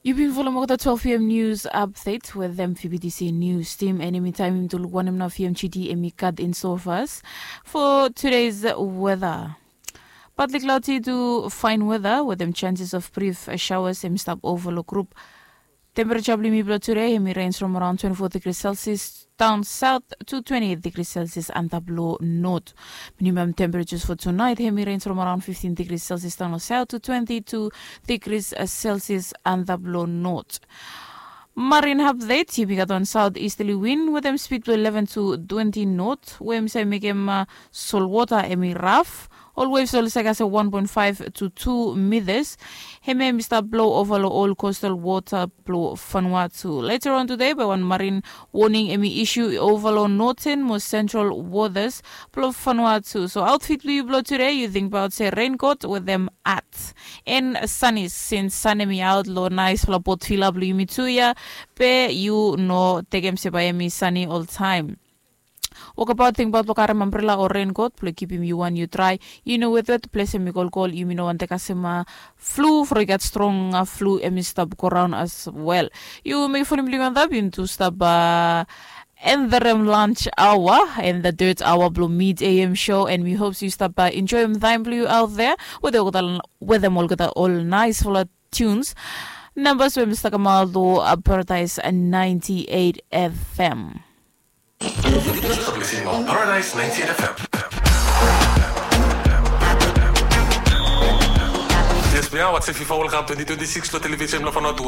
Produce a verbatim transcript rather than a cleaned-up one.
Yu bin folem olgeta twelve p m news update wetem P B T C news team, and hemi taem yumi tu luk wanem nao P M G D hemi gat in store for us for today's weather. Partly cloudy to fine weather wetem chances of brief showers hemi stap ova long group. Temperature blong yumi blong today hemi range from around twenty-four degrees Celsius down south to twenty-eight degrees Celsius antap long north. Minimum temperatures for tonight hemi range from around fifteen degrees Celsius down south to twenty-two degrees Celsius antap long north. Marine update, yumi gat wan southeasterly wind wetem speed blong eleven to twenty knot we hemi save mekem solwota hemi raf. Ol waves oli save kasem one point five to two meters. Hemia hemi stap blo ova long ol coastal wota blong Vanuatu. Later on today bae wan marine warning hemi issue ova long northern mo central waters blong Vanuatu. So outfit blong yu blong today, yu tingbaot se raincoat wetem hat and sunny, since sun hemi aot long naesfala boat villa blong yumi tu ia, be yu no tekem se bae hemi sunny oltaem. Wokbaot, tingbaot blong karem ambrela o raincoat blong kipim yu wan yu drae. Yu no wetwet, ples hemi kolkol, yumi no wantem kasem flu, from i gat strong flu hemi stap go raon as well. Yu mekem fon blong yu antap, yu tu stap end the lunch hour and the third hour blong Mid A M show, and we hope yu stap enjoem taem blong yu out there wetem olgeta ol naesfala tunes. Nambas we hemi stap kamaot long Paradise ninety-eight F M. Paradise ninety-eight F M. Yes, we are watching FIFA World Cup twenty twenty-six lo television lo Vanuatu.